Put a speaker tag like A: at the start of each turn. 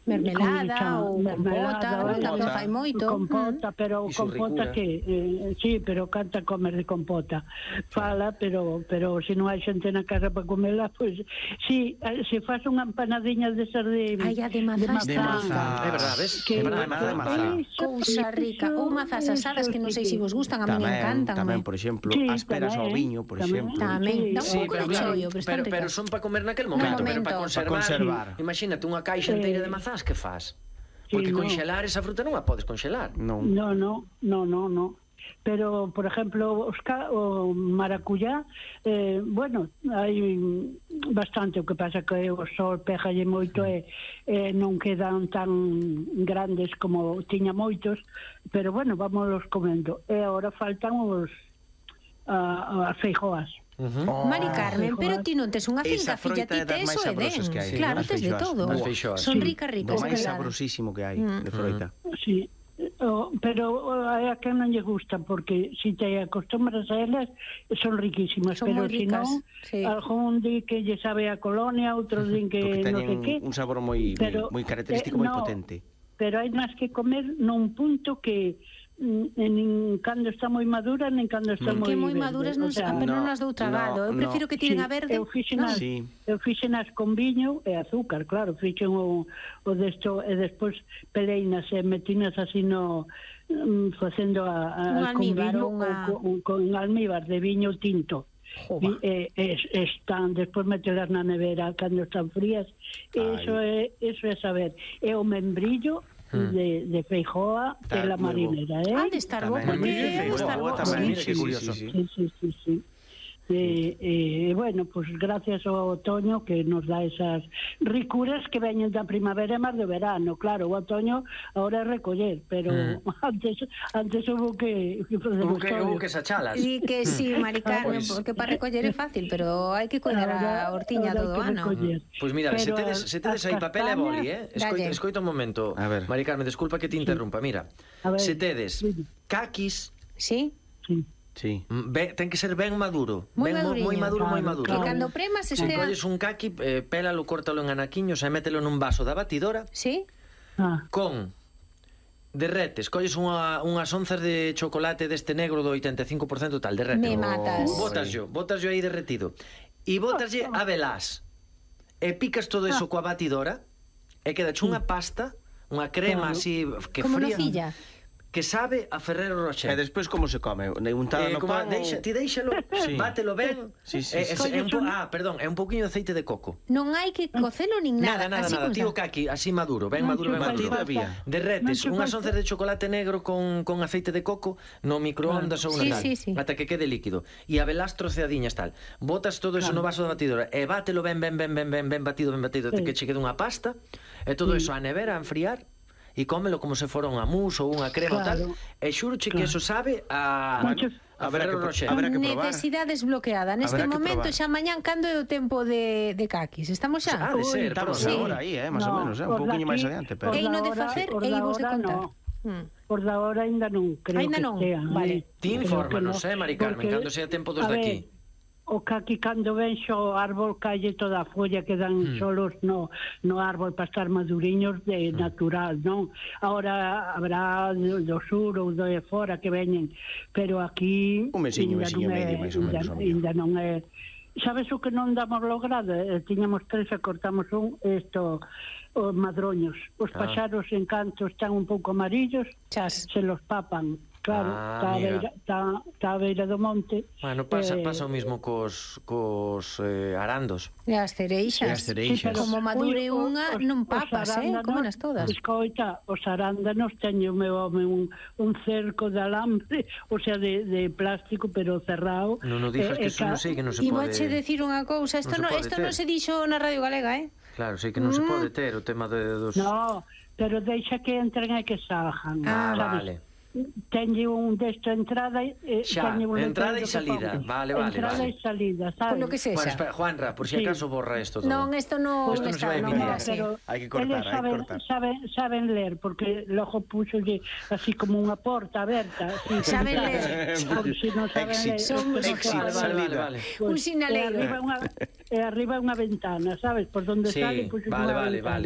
A: mermelada ou compota, tamén fai moito.
B: Compota, pero compota que sí, pero canta comer de compota. Fala, pero se non hai xente na casa para comela, pois si faz unha empanadiña de sardina.
A: Ai, a de mazás.
C: De mazá.
D: É verdade, ves?
C: Empanada de mazá.
A: Cousa rica. Ou mazás asadas que non sei se vos gustan, a mí me encantan.
C: Tamén, por exemplo, ásperas ao viño, por exemplo.
A: Tamén, dá un pouco de chollo, pero están ricas.
D: Pero son para comer naquel momento, pero para conservar. Imagínate unha caixa inteira de mazás, que faz? Porque conxelar esa fruta non a podes conxelar.
B: No. Pero, por exemplo, o maracuyá, bueno, hai bastante, o que pasa que o sol pégalle moito e non quedan tan grandes como tiña moitos, pero bueno, vámonos comendo. E agora faltan as feijoas.
A: Mari Carmen, pero ti non tes unha finca, filla, ti tes o Edén. Claro, tes de todo. Son ricas.
C: O máis sabrosísimo que hai de froita.
B: Sí, pero a quen non lle gusta, porque se te acostumbras a elas son riquísimas, pero se non, algún di que lle sabe a colonia, outros din que non sei que.
C: Un sabor moi característico, moi potente.
B: Pero hai máis que comer nun punto que nin cando está moi madura, nin cando está moi verde.
A: Que moi maduras non as dou tragado. Eu prefiro que tiren a verde.
B: Eu fixenas con viño e azúcar, claro. Fixen o desto e despois peleinas e metinas así facendo con viño con almíbar de viño tinto. Están, despois metelas na nevera cando están frías. Eso é saber. E o membrillo de feijoa pela marinera,
A: de estar bo, porque
C: tamén, que curioso.
B: Sí. Bueno, pues gracias ao otoño que nos dá esas ricuras que veñen da primavera e máis do verano. Claro, o otoño agora é recoller, pero antes houve
D: que sachalas.
A: Sí, que sí, Mari Carmen, porque para recoller é fácil, pero hai que coller a hortiña todo o ano.
D: Pois mira, se tedes aí papel e boli, escoita un momento. Mari Carmen, desculpa que te interrumpa. Mira, se tedes caquis...
A: Sí?
C: Sí.
D: Ten que ser ben maduro.
A: Moi
D: maduro.
A: Que cando premas estea...
D: Se colles un caqui, pélalo, córtalo en anaquiños e mételo nun vaso da batidora.
A: Sí.
D: Con derretes, colles unhas onzas de chocolate deste negro do 85% tal, derrete.
A: Me matas.
D: Botaslo aí derretido. E botaslle a velás. E picas todo eso coa batidora e quedache unha pasta, unha crema así que
A: como
D: fría.
A: Como nocilla.
D: Que sabe a Ferrero Rocher.
C: E despois como se come? Untado no pan?
D: Ti deixalo, bátelo ben. É un pouquiño de aceite de coco.
A: Non hai que cocelo nin nada.
D: Nada, tío caqui, así maduro, ben maduro. Derretes unhas onzas de chocolate negro con aceite de coco no microondas ou unha tal, ata que quede líquido. E a velás troceadiñas tal. Botas todo eso no vaso da batidora e bátelo ben batido, até que che quede unha pasta, e todo eso á nevera a enfriar. E cómelo como se fora unha mousse ou unha crema ou tal. E xuroche que eso sabe a Ferrero Rocher.
A: Necesidade desbloqueada. Neste momento, xa mañán, cando é o tempo de caquis? Estamos xa?
D: De ser,
C: estamos agora aí, máis ou menos, un pouquinho máis adiante.
A: Que ino de facer e imos de contar.
B: Por da hora ainda non, creo que sea.
A: Vale.
D: Ti infórmanos, Mari Carmen, cando sea tempo dos daqui.
B: O caqui cando ven xo árbol calle toda a folla, quedan solos no árbol para estar maduriños de natural, non? Agora habrá do sur ou de fora que veñen, pero aquí
C: un mesiño medio, máis ou menos.
B: Ainda non é. Sabes o que non damos logrado? Tiñamos 3 e cortamos os madroños. Os paxaros en canto están un pouco amarillos, se los papan. Claro, está a beira do monte.
D: Bueno, pasa o mismo cos arandos.
A: E as cereixas. Como madure unha, non papas, comenas todas.
B: Escoita, os arándanos teño meu home un cerco de alambre, o sea, de plástico, pero cerrado.
D: Non o dixas, que eso non sei que non se pode...
A: E vouche decir unha cousa, isto non se dixo na Radio Galega,
D: Claro, sei que non se pode ter o tema dos...
B: No, pero deixa que entren e que salgan.
D: Vale.
B: Teñe un desto entrada e
D: entrada e salida. Vale.
B: Entrada e salida, sabes?
A: Por lo que sexa.
D: Bueno, espera, Juanra, por si acaso borra isto todo.
A: Non, isto non
D: se vai emitir.
C: Hai que cortar,
B: saben ler, porque logo puxolle así como unha porta aberta.
A: Saben ler.
B: Si non saben ler.
D: Vale.
A: Un sinaleiro.
B: E arriba unha ventana, sabes? Por donde sale, puxo unha ventana.
D: Vale.